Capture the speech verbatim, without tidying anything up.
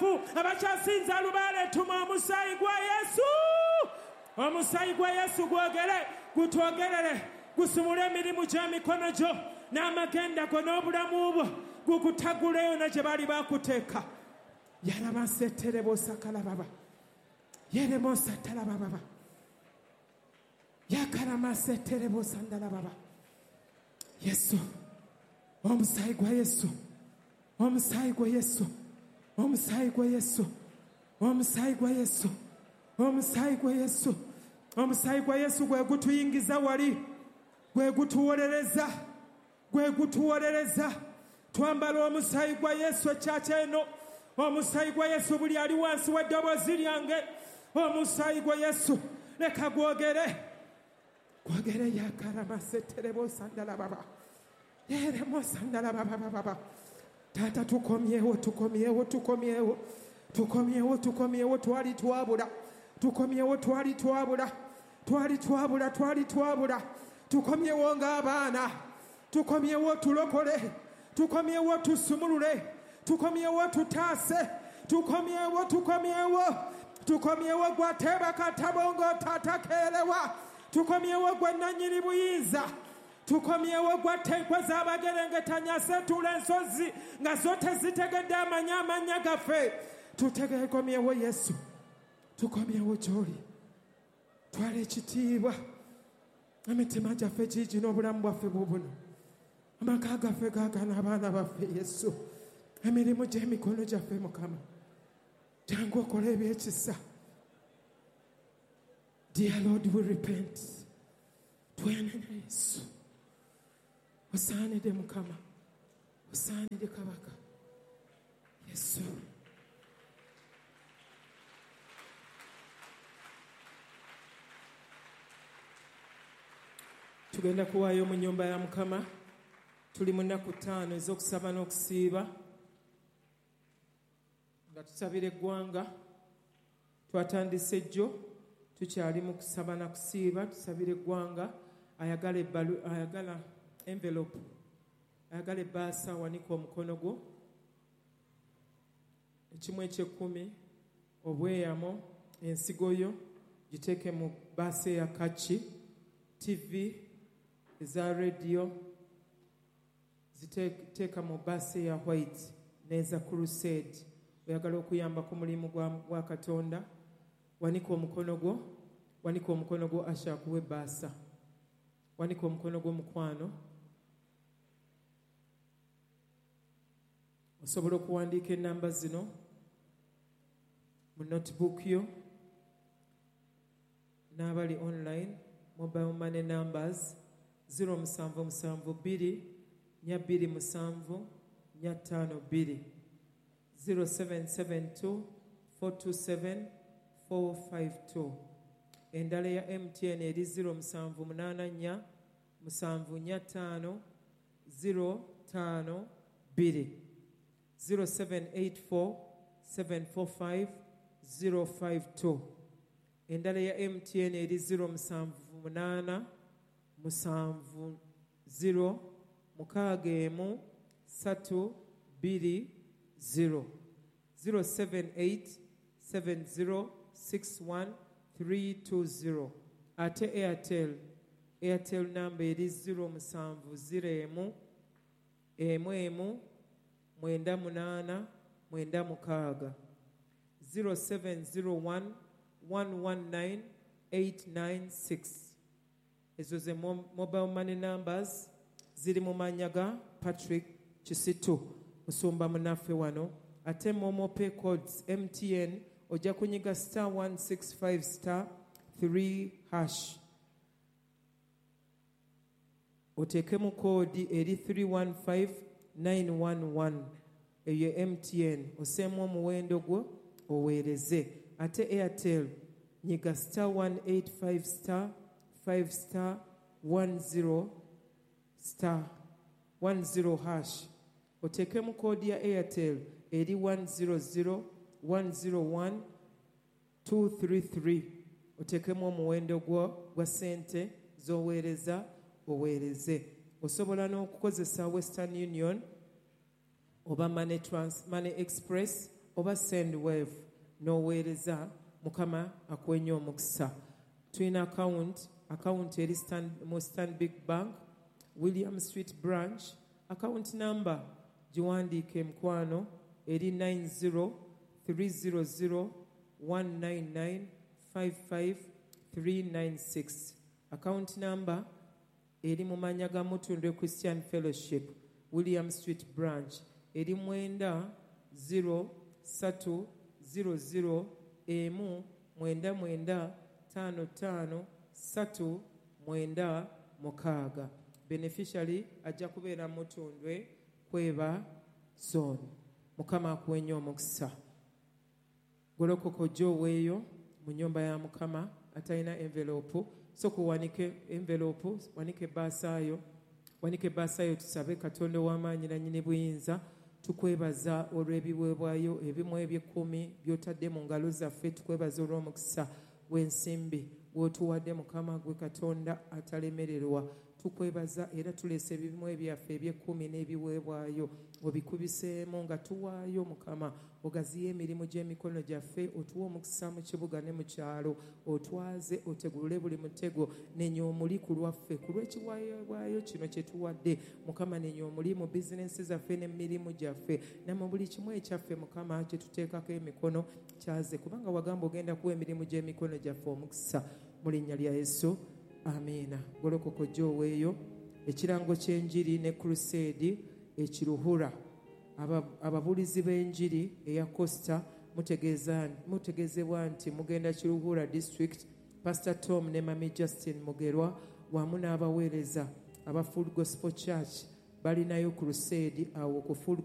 abafu, abakyasinza lubaale, tuma omusaayi gwa Yesu. Omusaayi gwa Yesu gwogere, gutwogerere, gusumule emirimu gy'emikono gyo n'amagenda go n'obulamu bwo, gukutaguleyo na gye baali bakuteeka. Yarabaseterebosakalababa, yeremosatalababa, yakaramaseterebosandalababa. Yesu, omusaayi gwa Yesu, omusaayi gwa Yesu, omusaayi gwa Yesu, omusaayi gwa Yesu, omusaayi gwa Yesu, omusaayi gwa Yesu gwe gutuyingiza wali, gwe gutuwolereza, gwe gutuwolereza. Twambala omusaayi gwa Yesu ekyakya eno. Omusaayi gwa Yesu buli ali wansi w'eddoboozi lyange, omusaayi gwa Yesu leka gwogere, gwogere. Yakaramaseterebosandalababa, yeremosandalabababa. Taata, tukomyewo, tukomyewo, tukomyewo, tukomyewo, tukomyewo. Twali twabula, tukomyewo, twali twabula, twali twabula, twali twabula. Tukomyewo ng'abaana, tukomyewo tulokole, tukomyewo tusumulule, tukomyewo tutaase, tukomyewo, tukomyewo, tukomyewo. Gwateeba katabongo tatakeerewa, tukomyewo gwe nannyini buyinza, tukomyewo gwatta enkwe z'abagerengetanya setuula ensozi nga zo tezitegedde amanyi amannya gaffe. Tutegekomyewo Yesu, tukomyewo gy'oli. Twala ekitiibwa, emitima gyaffe giigi n'obulamu bwaffe bubuno, amaka gaffe gaagana, abaana baffe Yesu, emirimu gy'emikono gyaffe. Mukama, jangu okola ebyekisa. Dear Lord, we repent. Twenenya Yesu, osaanidde Mukama, osaanidde Kabaka Yesu. Tugenda kuwaayo mu nnyumba ya Mukama. Tuli mu nnaku ttaano ez'okusaba n'okusiiba nga tusabira eggwanga. Twatandise jjo, tukyali mu kusaba na kusiiba, tusabira eggwanga. Ayagala ebbalu, ayagala envelope, ayagala ebbaasa, wanika omukono gwo. Ekimu eky'ekkumi, obweyamo, ensigo yo giteeke mu bbaasa eya kaki. T V eza radio ziteeka mu bbaasa eya white n'eza crusade. Oyagala okuyamba ku mulimu gwa Katonda, wanika omukono gwo, wanika omukono gwo, Asha akuwe ebbaasa. Wanika omukono gwo, mukwano. Osobola okuwandiika ennamba zino mu notebook yo, n'abali online, mobile money numbers zero musanvu musanvu bbiri nnya bbiri musanvu nnya ttaano bbiri, zero seven seven two four two seven four five two. Endala ya M T N eri zero musanvu munaana nnya musanvu nnya ttaano zero ttaano bbiri, zero seven eight four seven four five zero five two. Endala ya M T N eri zero musanvu munaana musanvu zero mukaaga emu ssatu bbiri zero, zero seven eight seven zero six one three two zero. Ate Airtel, Airtel namba eri zero musanvu zero emu emu emu mwenda munaana mwenda mukaaga, zero seven zero one one one nine eight nine six. Ezo ze mobile money numbers ziri mu mannya ga Patrick Kisitu, musumba munaffe wano. Ate Momo Pay codes M T N ojja kunyiga star one six five star three hash, oteekemu koodi eri three one five nine one one, eyo M T N, oseemu omuwendo gwo oweereze. Ate Airtel nyiga star one eight five star five star one zero star one zero hash, oteekemu koodi ya Airtel eri one zero zero one zero one two three three, oteekemu omuwendo gwo gwa ssente z'oweereza oweereze. Osobola n'okukozesa Western Union oba Money Trans, Money Express oba Sendwave n'oweereza. Mukama akuwenye omukisa. Tulina account, account eri Stan, mu Stanbic Bank, William Street branch. Account number giwandiike mukwano, eri nine zero three zero zero one nine nine five five three nine six. Account number eri mu mannya ga Mutundwe Christian Fellowship, William Street branch, eri mwenda zero satu zero zero emu mwenda mwenda tano tano satu mwenda mukaaga. Beneficiary ajja kubeera Mutundwe Kweba zone. Mukama akuwenye omukisa. Golokoka ojje oweeyo mu nnyumba ya Mukama. Atalina envelope, sooka owanike envelope, wanike ebbaasaayo, wanike ebbaasaayo, tusabe Katonda ow'amaanyi nannyini buyinza. Tukwebaza olw'ebiweebwayo ebimu eby'ekkumi by'otadde mu ngalo zaffe. Tukwebaza olw'omukisa gw'ensimbi gw'otuwadde Mukama, gwe Katonda atalemererwa. Tukwebaza era tuleese ebimu ebyaffe eby'ekkumi n'ebiweebwayo, obikubiseemu nga tuwaayo Mukama, ogaziye emirimu gy'emikono gyaffe, otuwe omukisa mu kibuga ne mu kyalo, otwaze, otegulule buli mutego, nenya omuli ku lwaffe, ku lw'ekiweebwayo kino kye tuwadde Mukama, nenya omuli mu bizinensi zaffe n'emirimu gyaffe, ne mu buli kimu ekyaffe Mukama kye tuteekako emikono kyaze, kubanga wagamba ogenda kuwa emirimu gy'emikono gyaffe omukisa. Mu linnya lya Yesu, amiina. Golokoka ojje oweeyo. Ekirango ky'enjiri ne crusade ekiruhura. Ababuulizi b'enjiri eya Costa mutegeeza, mutegeezebwa nti mugenda Kiruhura district. Pastor Tom ne Mami Justin Mugerwa wamu n'abaweereza aba Full Gospel Church balinayo crusade awo ku Full